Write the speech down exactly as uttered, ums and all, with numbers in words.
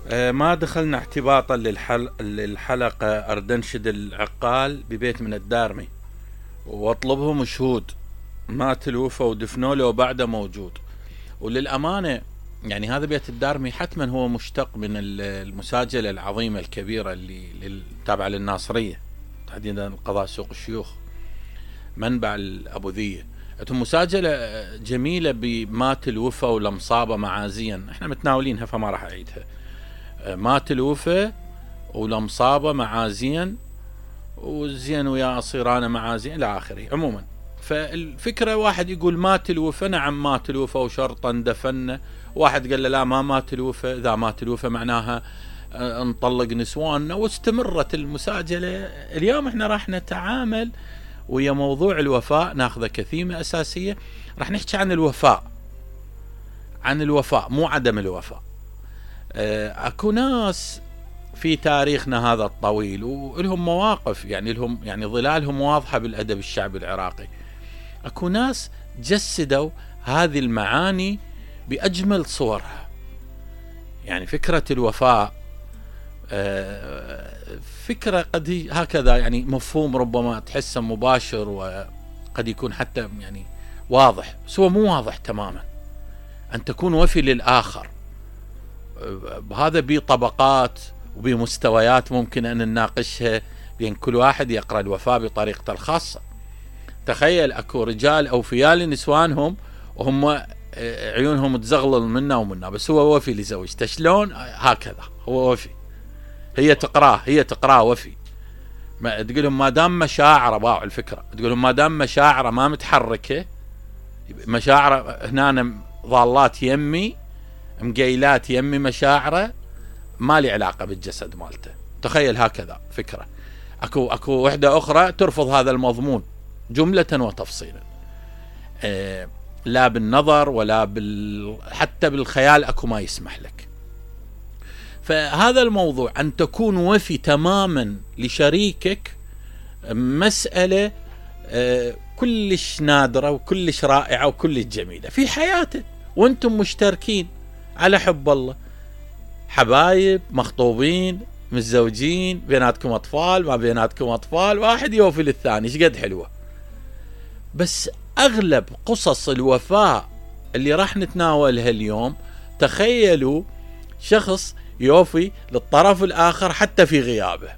آه، ما دخلنا اعتباطا للحل... للحلقة أردنشد العقال ببيت من الدارمي واطلبهم شهود مات الوفا ودفنوا له وبعده موجود. وللأمانة يعني هذا بيت الدارمي حتما هو مشتق من المساجلة العظيمة الكبيرة اللي تابعة للناصرية، تحديدا قضاء سوق الشيوخ منبع الأبوذية. مساجلة جميلة بمات الوفا ولمصابة معازيا، احنا متناولينها فما راح أعيدها. مات الوفا ولمصابة معازيا وزين ويا أصيران معازيا إلى آخره. عموما فالفكرة واحد يقول مات الوفا، نعم مات الوفا وشرطا دفن. واحد قال له لا ما مات الوفا، إذا مات الوفا معناها نطلق نسواننا. واستمرت المساجلة. اليوم احنا راح نتعامل ويا موضوع الوفاء، ناخذه كثيمة أساسية. راح نحكي عن الوفاء، عن الوفاء مو عدم الوفاء. اكو ناس في تاريخنا هذا الطويل ولهم مواقف، يعني لهم يعني ظلالهم واضحة بالأدب الشعبي العراقي. اكو ناس جسدوا هذه المعاني بأجمل صورها. يعني فكرة الوفاء فكرة قد هكذا، يعني مفهوم ربما تحسه مباشر وقد يكون حتى يعني واضح، بس هو مو واضح تماما. أن تكون وفي للآخر هذا بطبقات وبمستويات ممكن أن نناقشها، بين كل واحد يقرأ الوفاء بطريقته الخاصة. تخيل أكو رجال أوفياء لنسوانهم وهم عيونهم تزغلل منا ومنا، بس هو وفي لزوجته. شلون؟ هكذا هو وفي. هي تقراه هي تقراه وفي. ما تقولهم ما دام مشاعره، باع الفكرة، تقولهم ما دام مشاعره ما متحركة، مشاعره هنا ضالات يمي مقيلات يمي، مشاعره ما لي علاقة بالجسد مالته. تخيل هكذا فكرة. اكو اكو وحدة اخرى ترفض هذا المضمون جملة وتفصيلا، أه لا بالنظر ولا بال حتى بالخيال اكو ما يسمح لك. فهذا الموضوع أن تكون وفي تماما لشريكك مسألة كلش نادرة وكلش رائعة وكلش جميلة في حياته، وانتم مشتركين على حب الله، حبايب، مخطوبين، متزوجين، بيناتكم أطفال، ما بيناتكم أطفال، واحد يوفي للثاني. شقد حلوة. بس أغلب قصص الوفاء اللي راح نتناولها اليوم، تخيلوا شخص يوفي للطرف الآخر حتى في غيابه.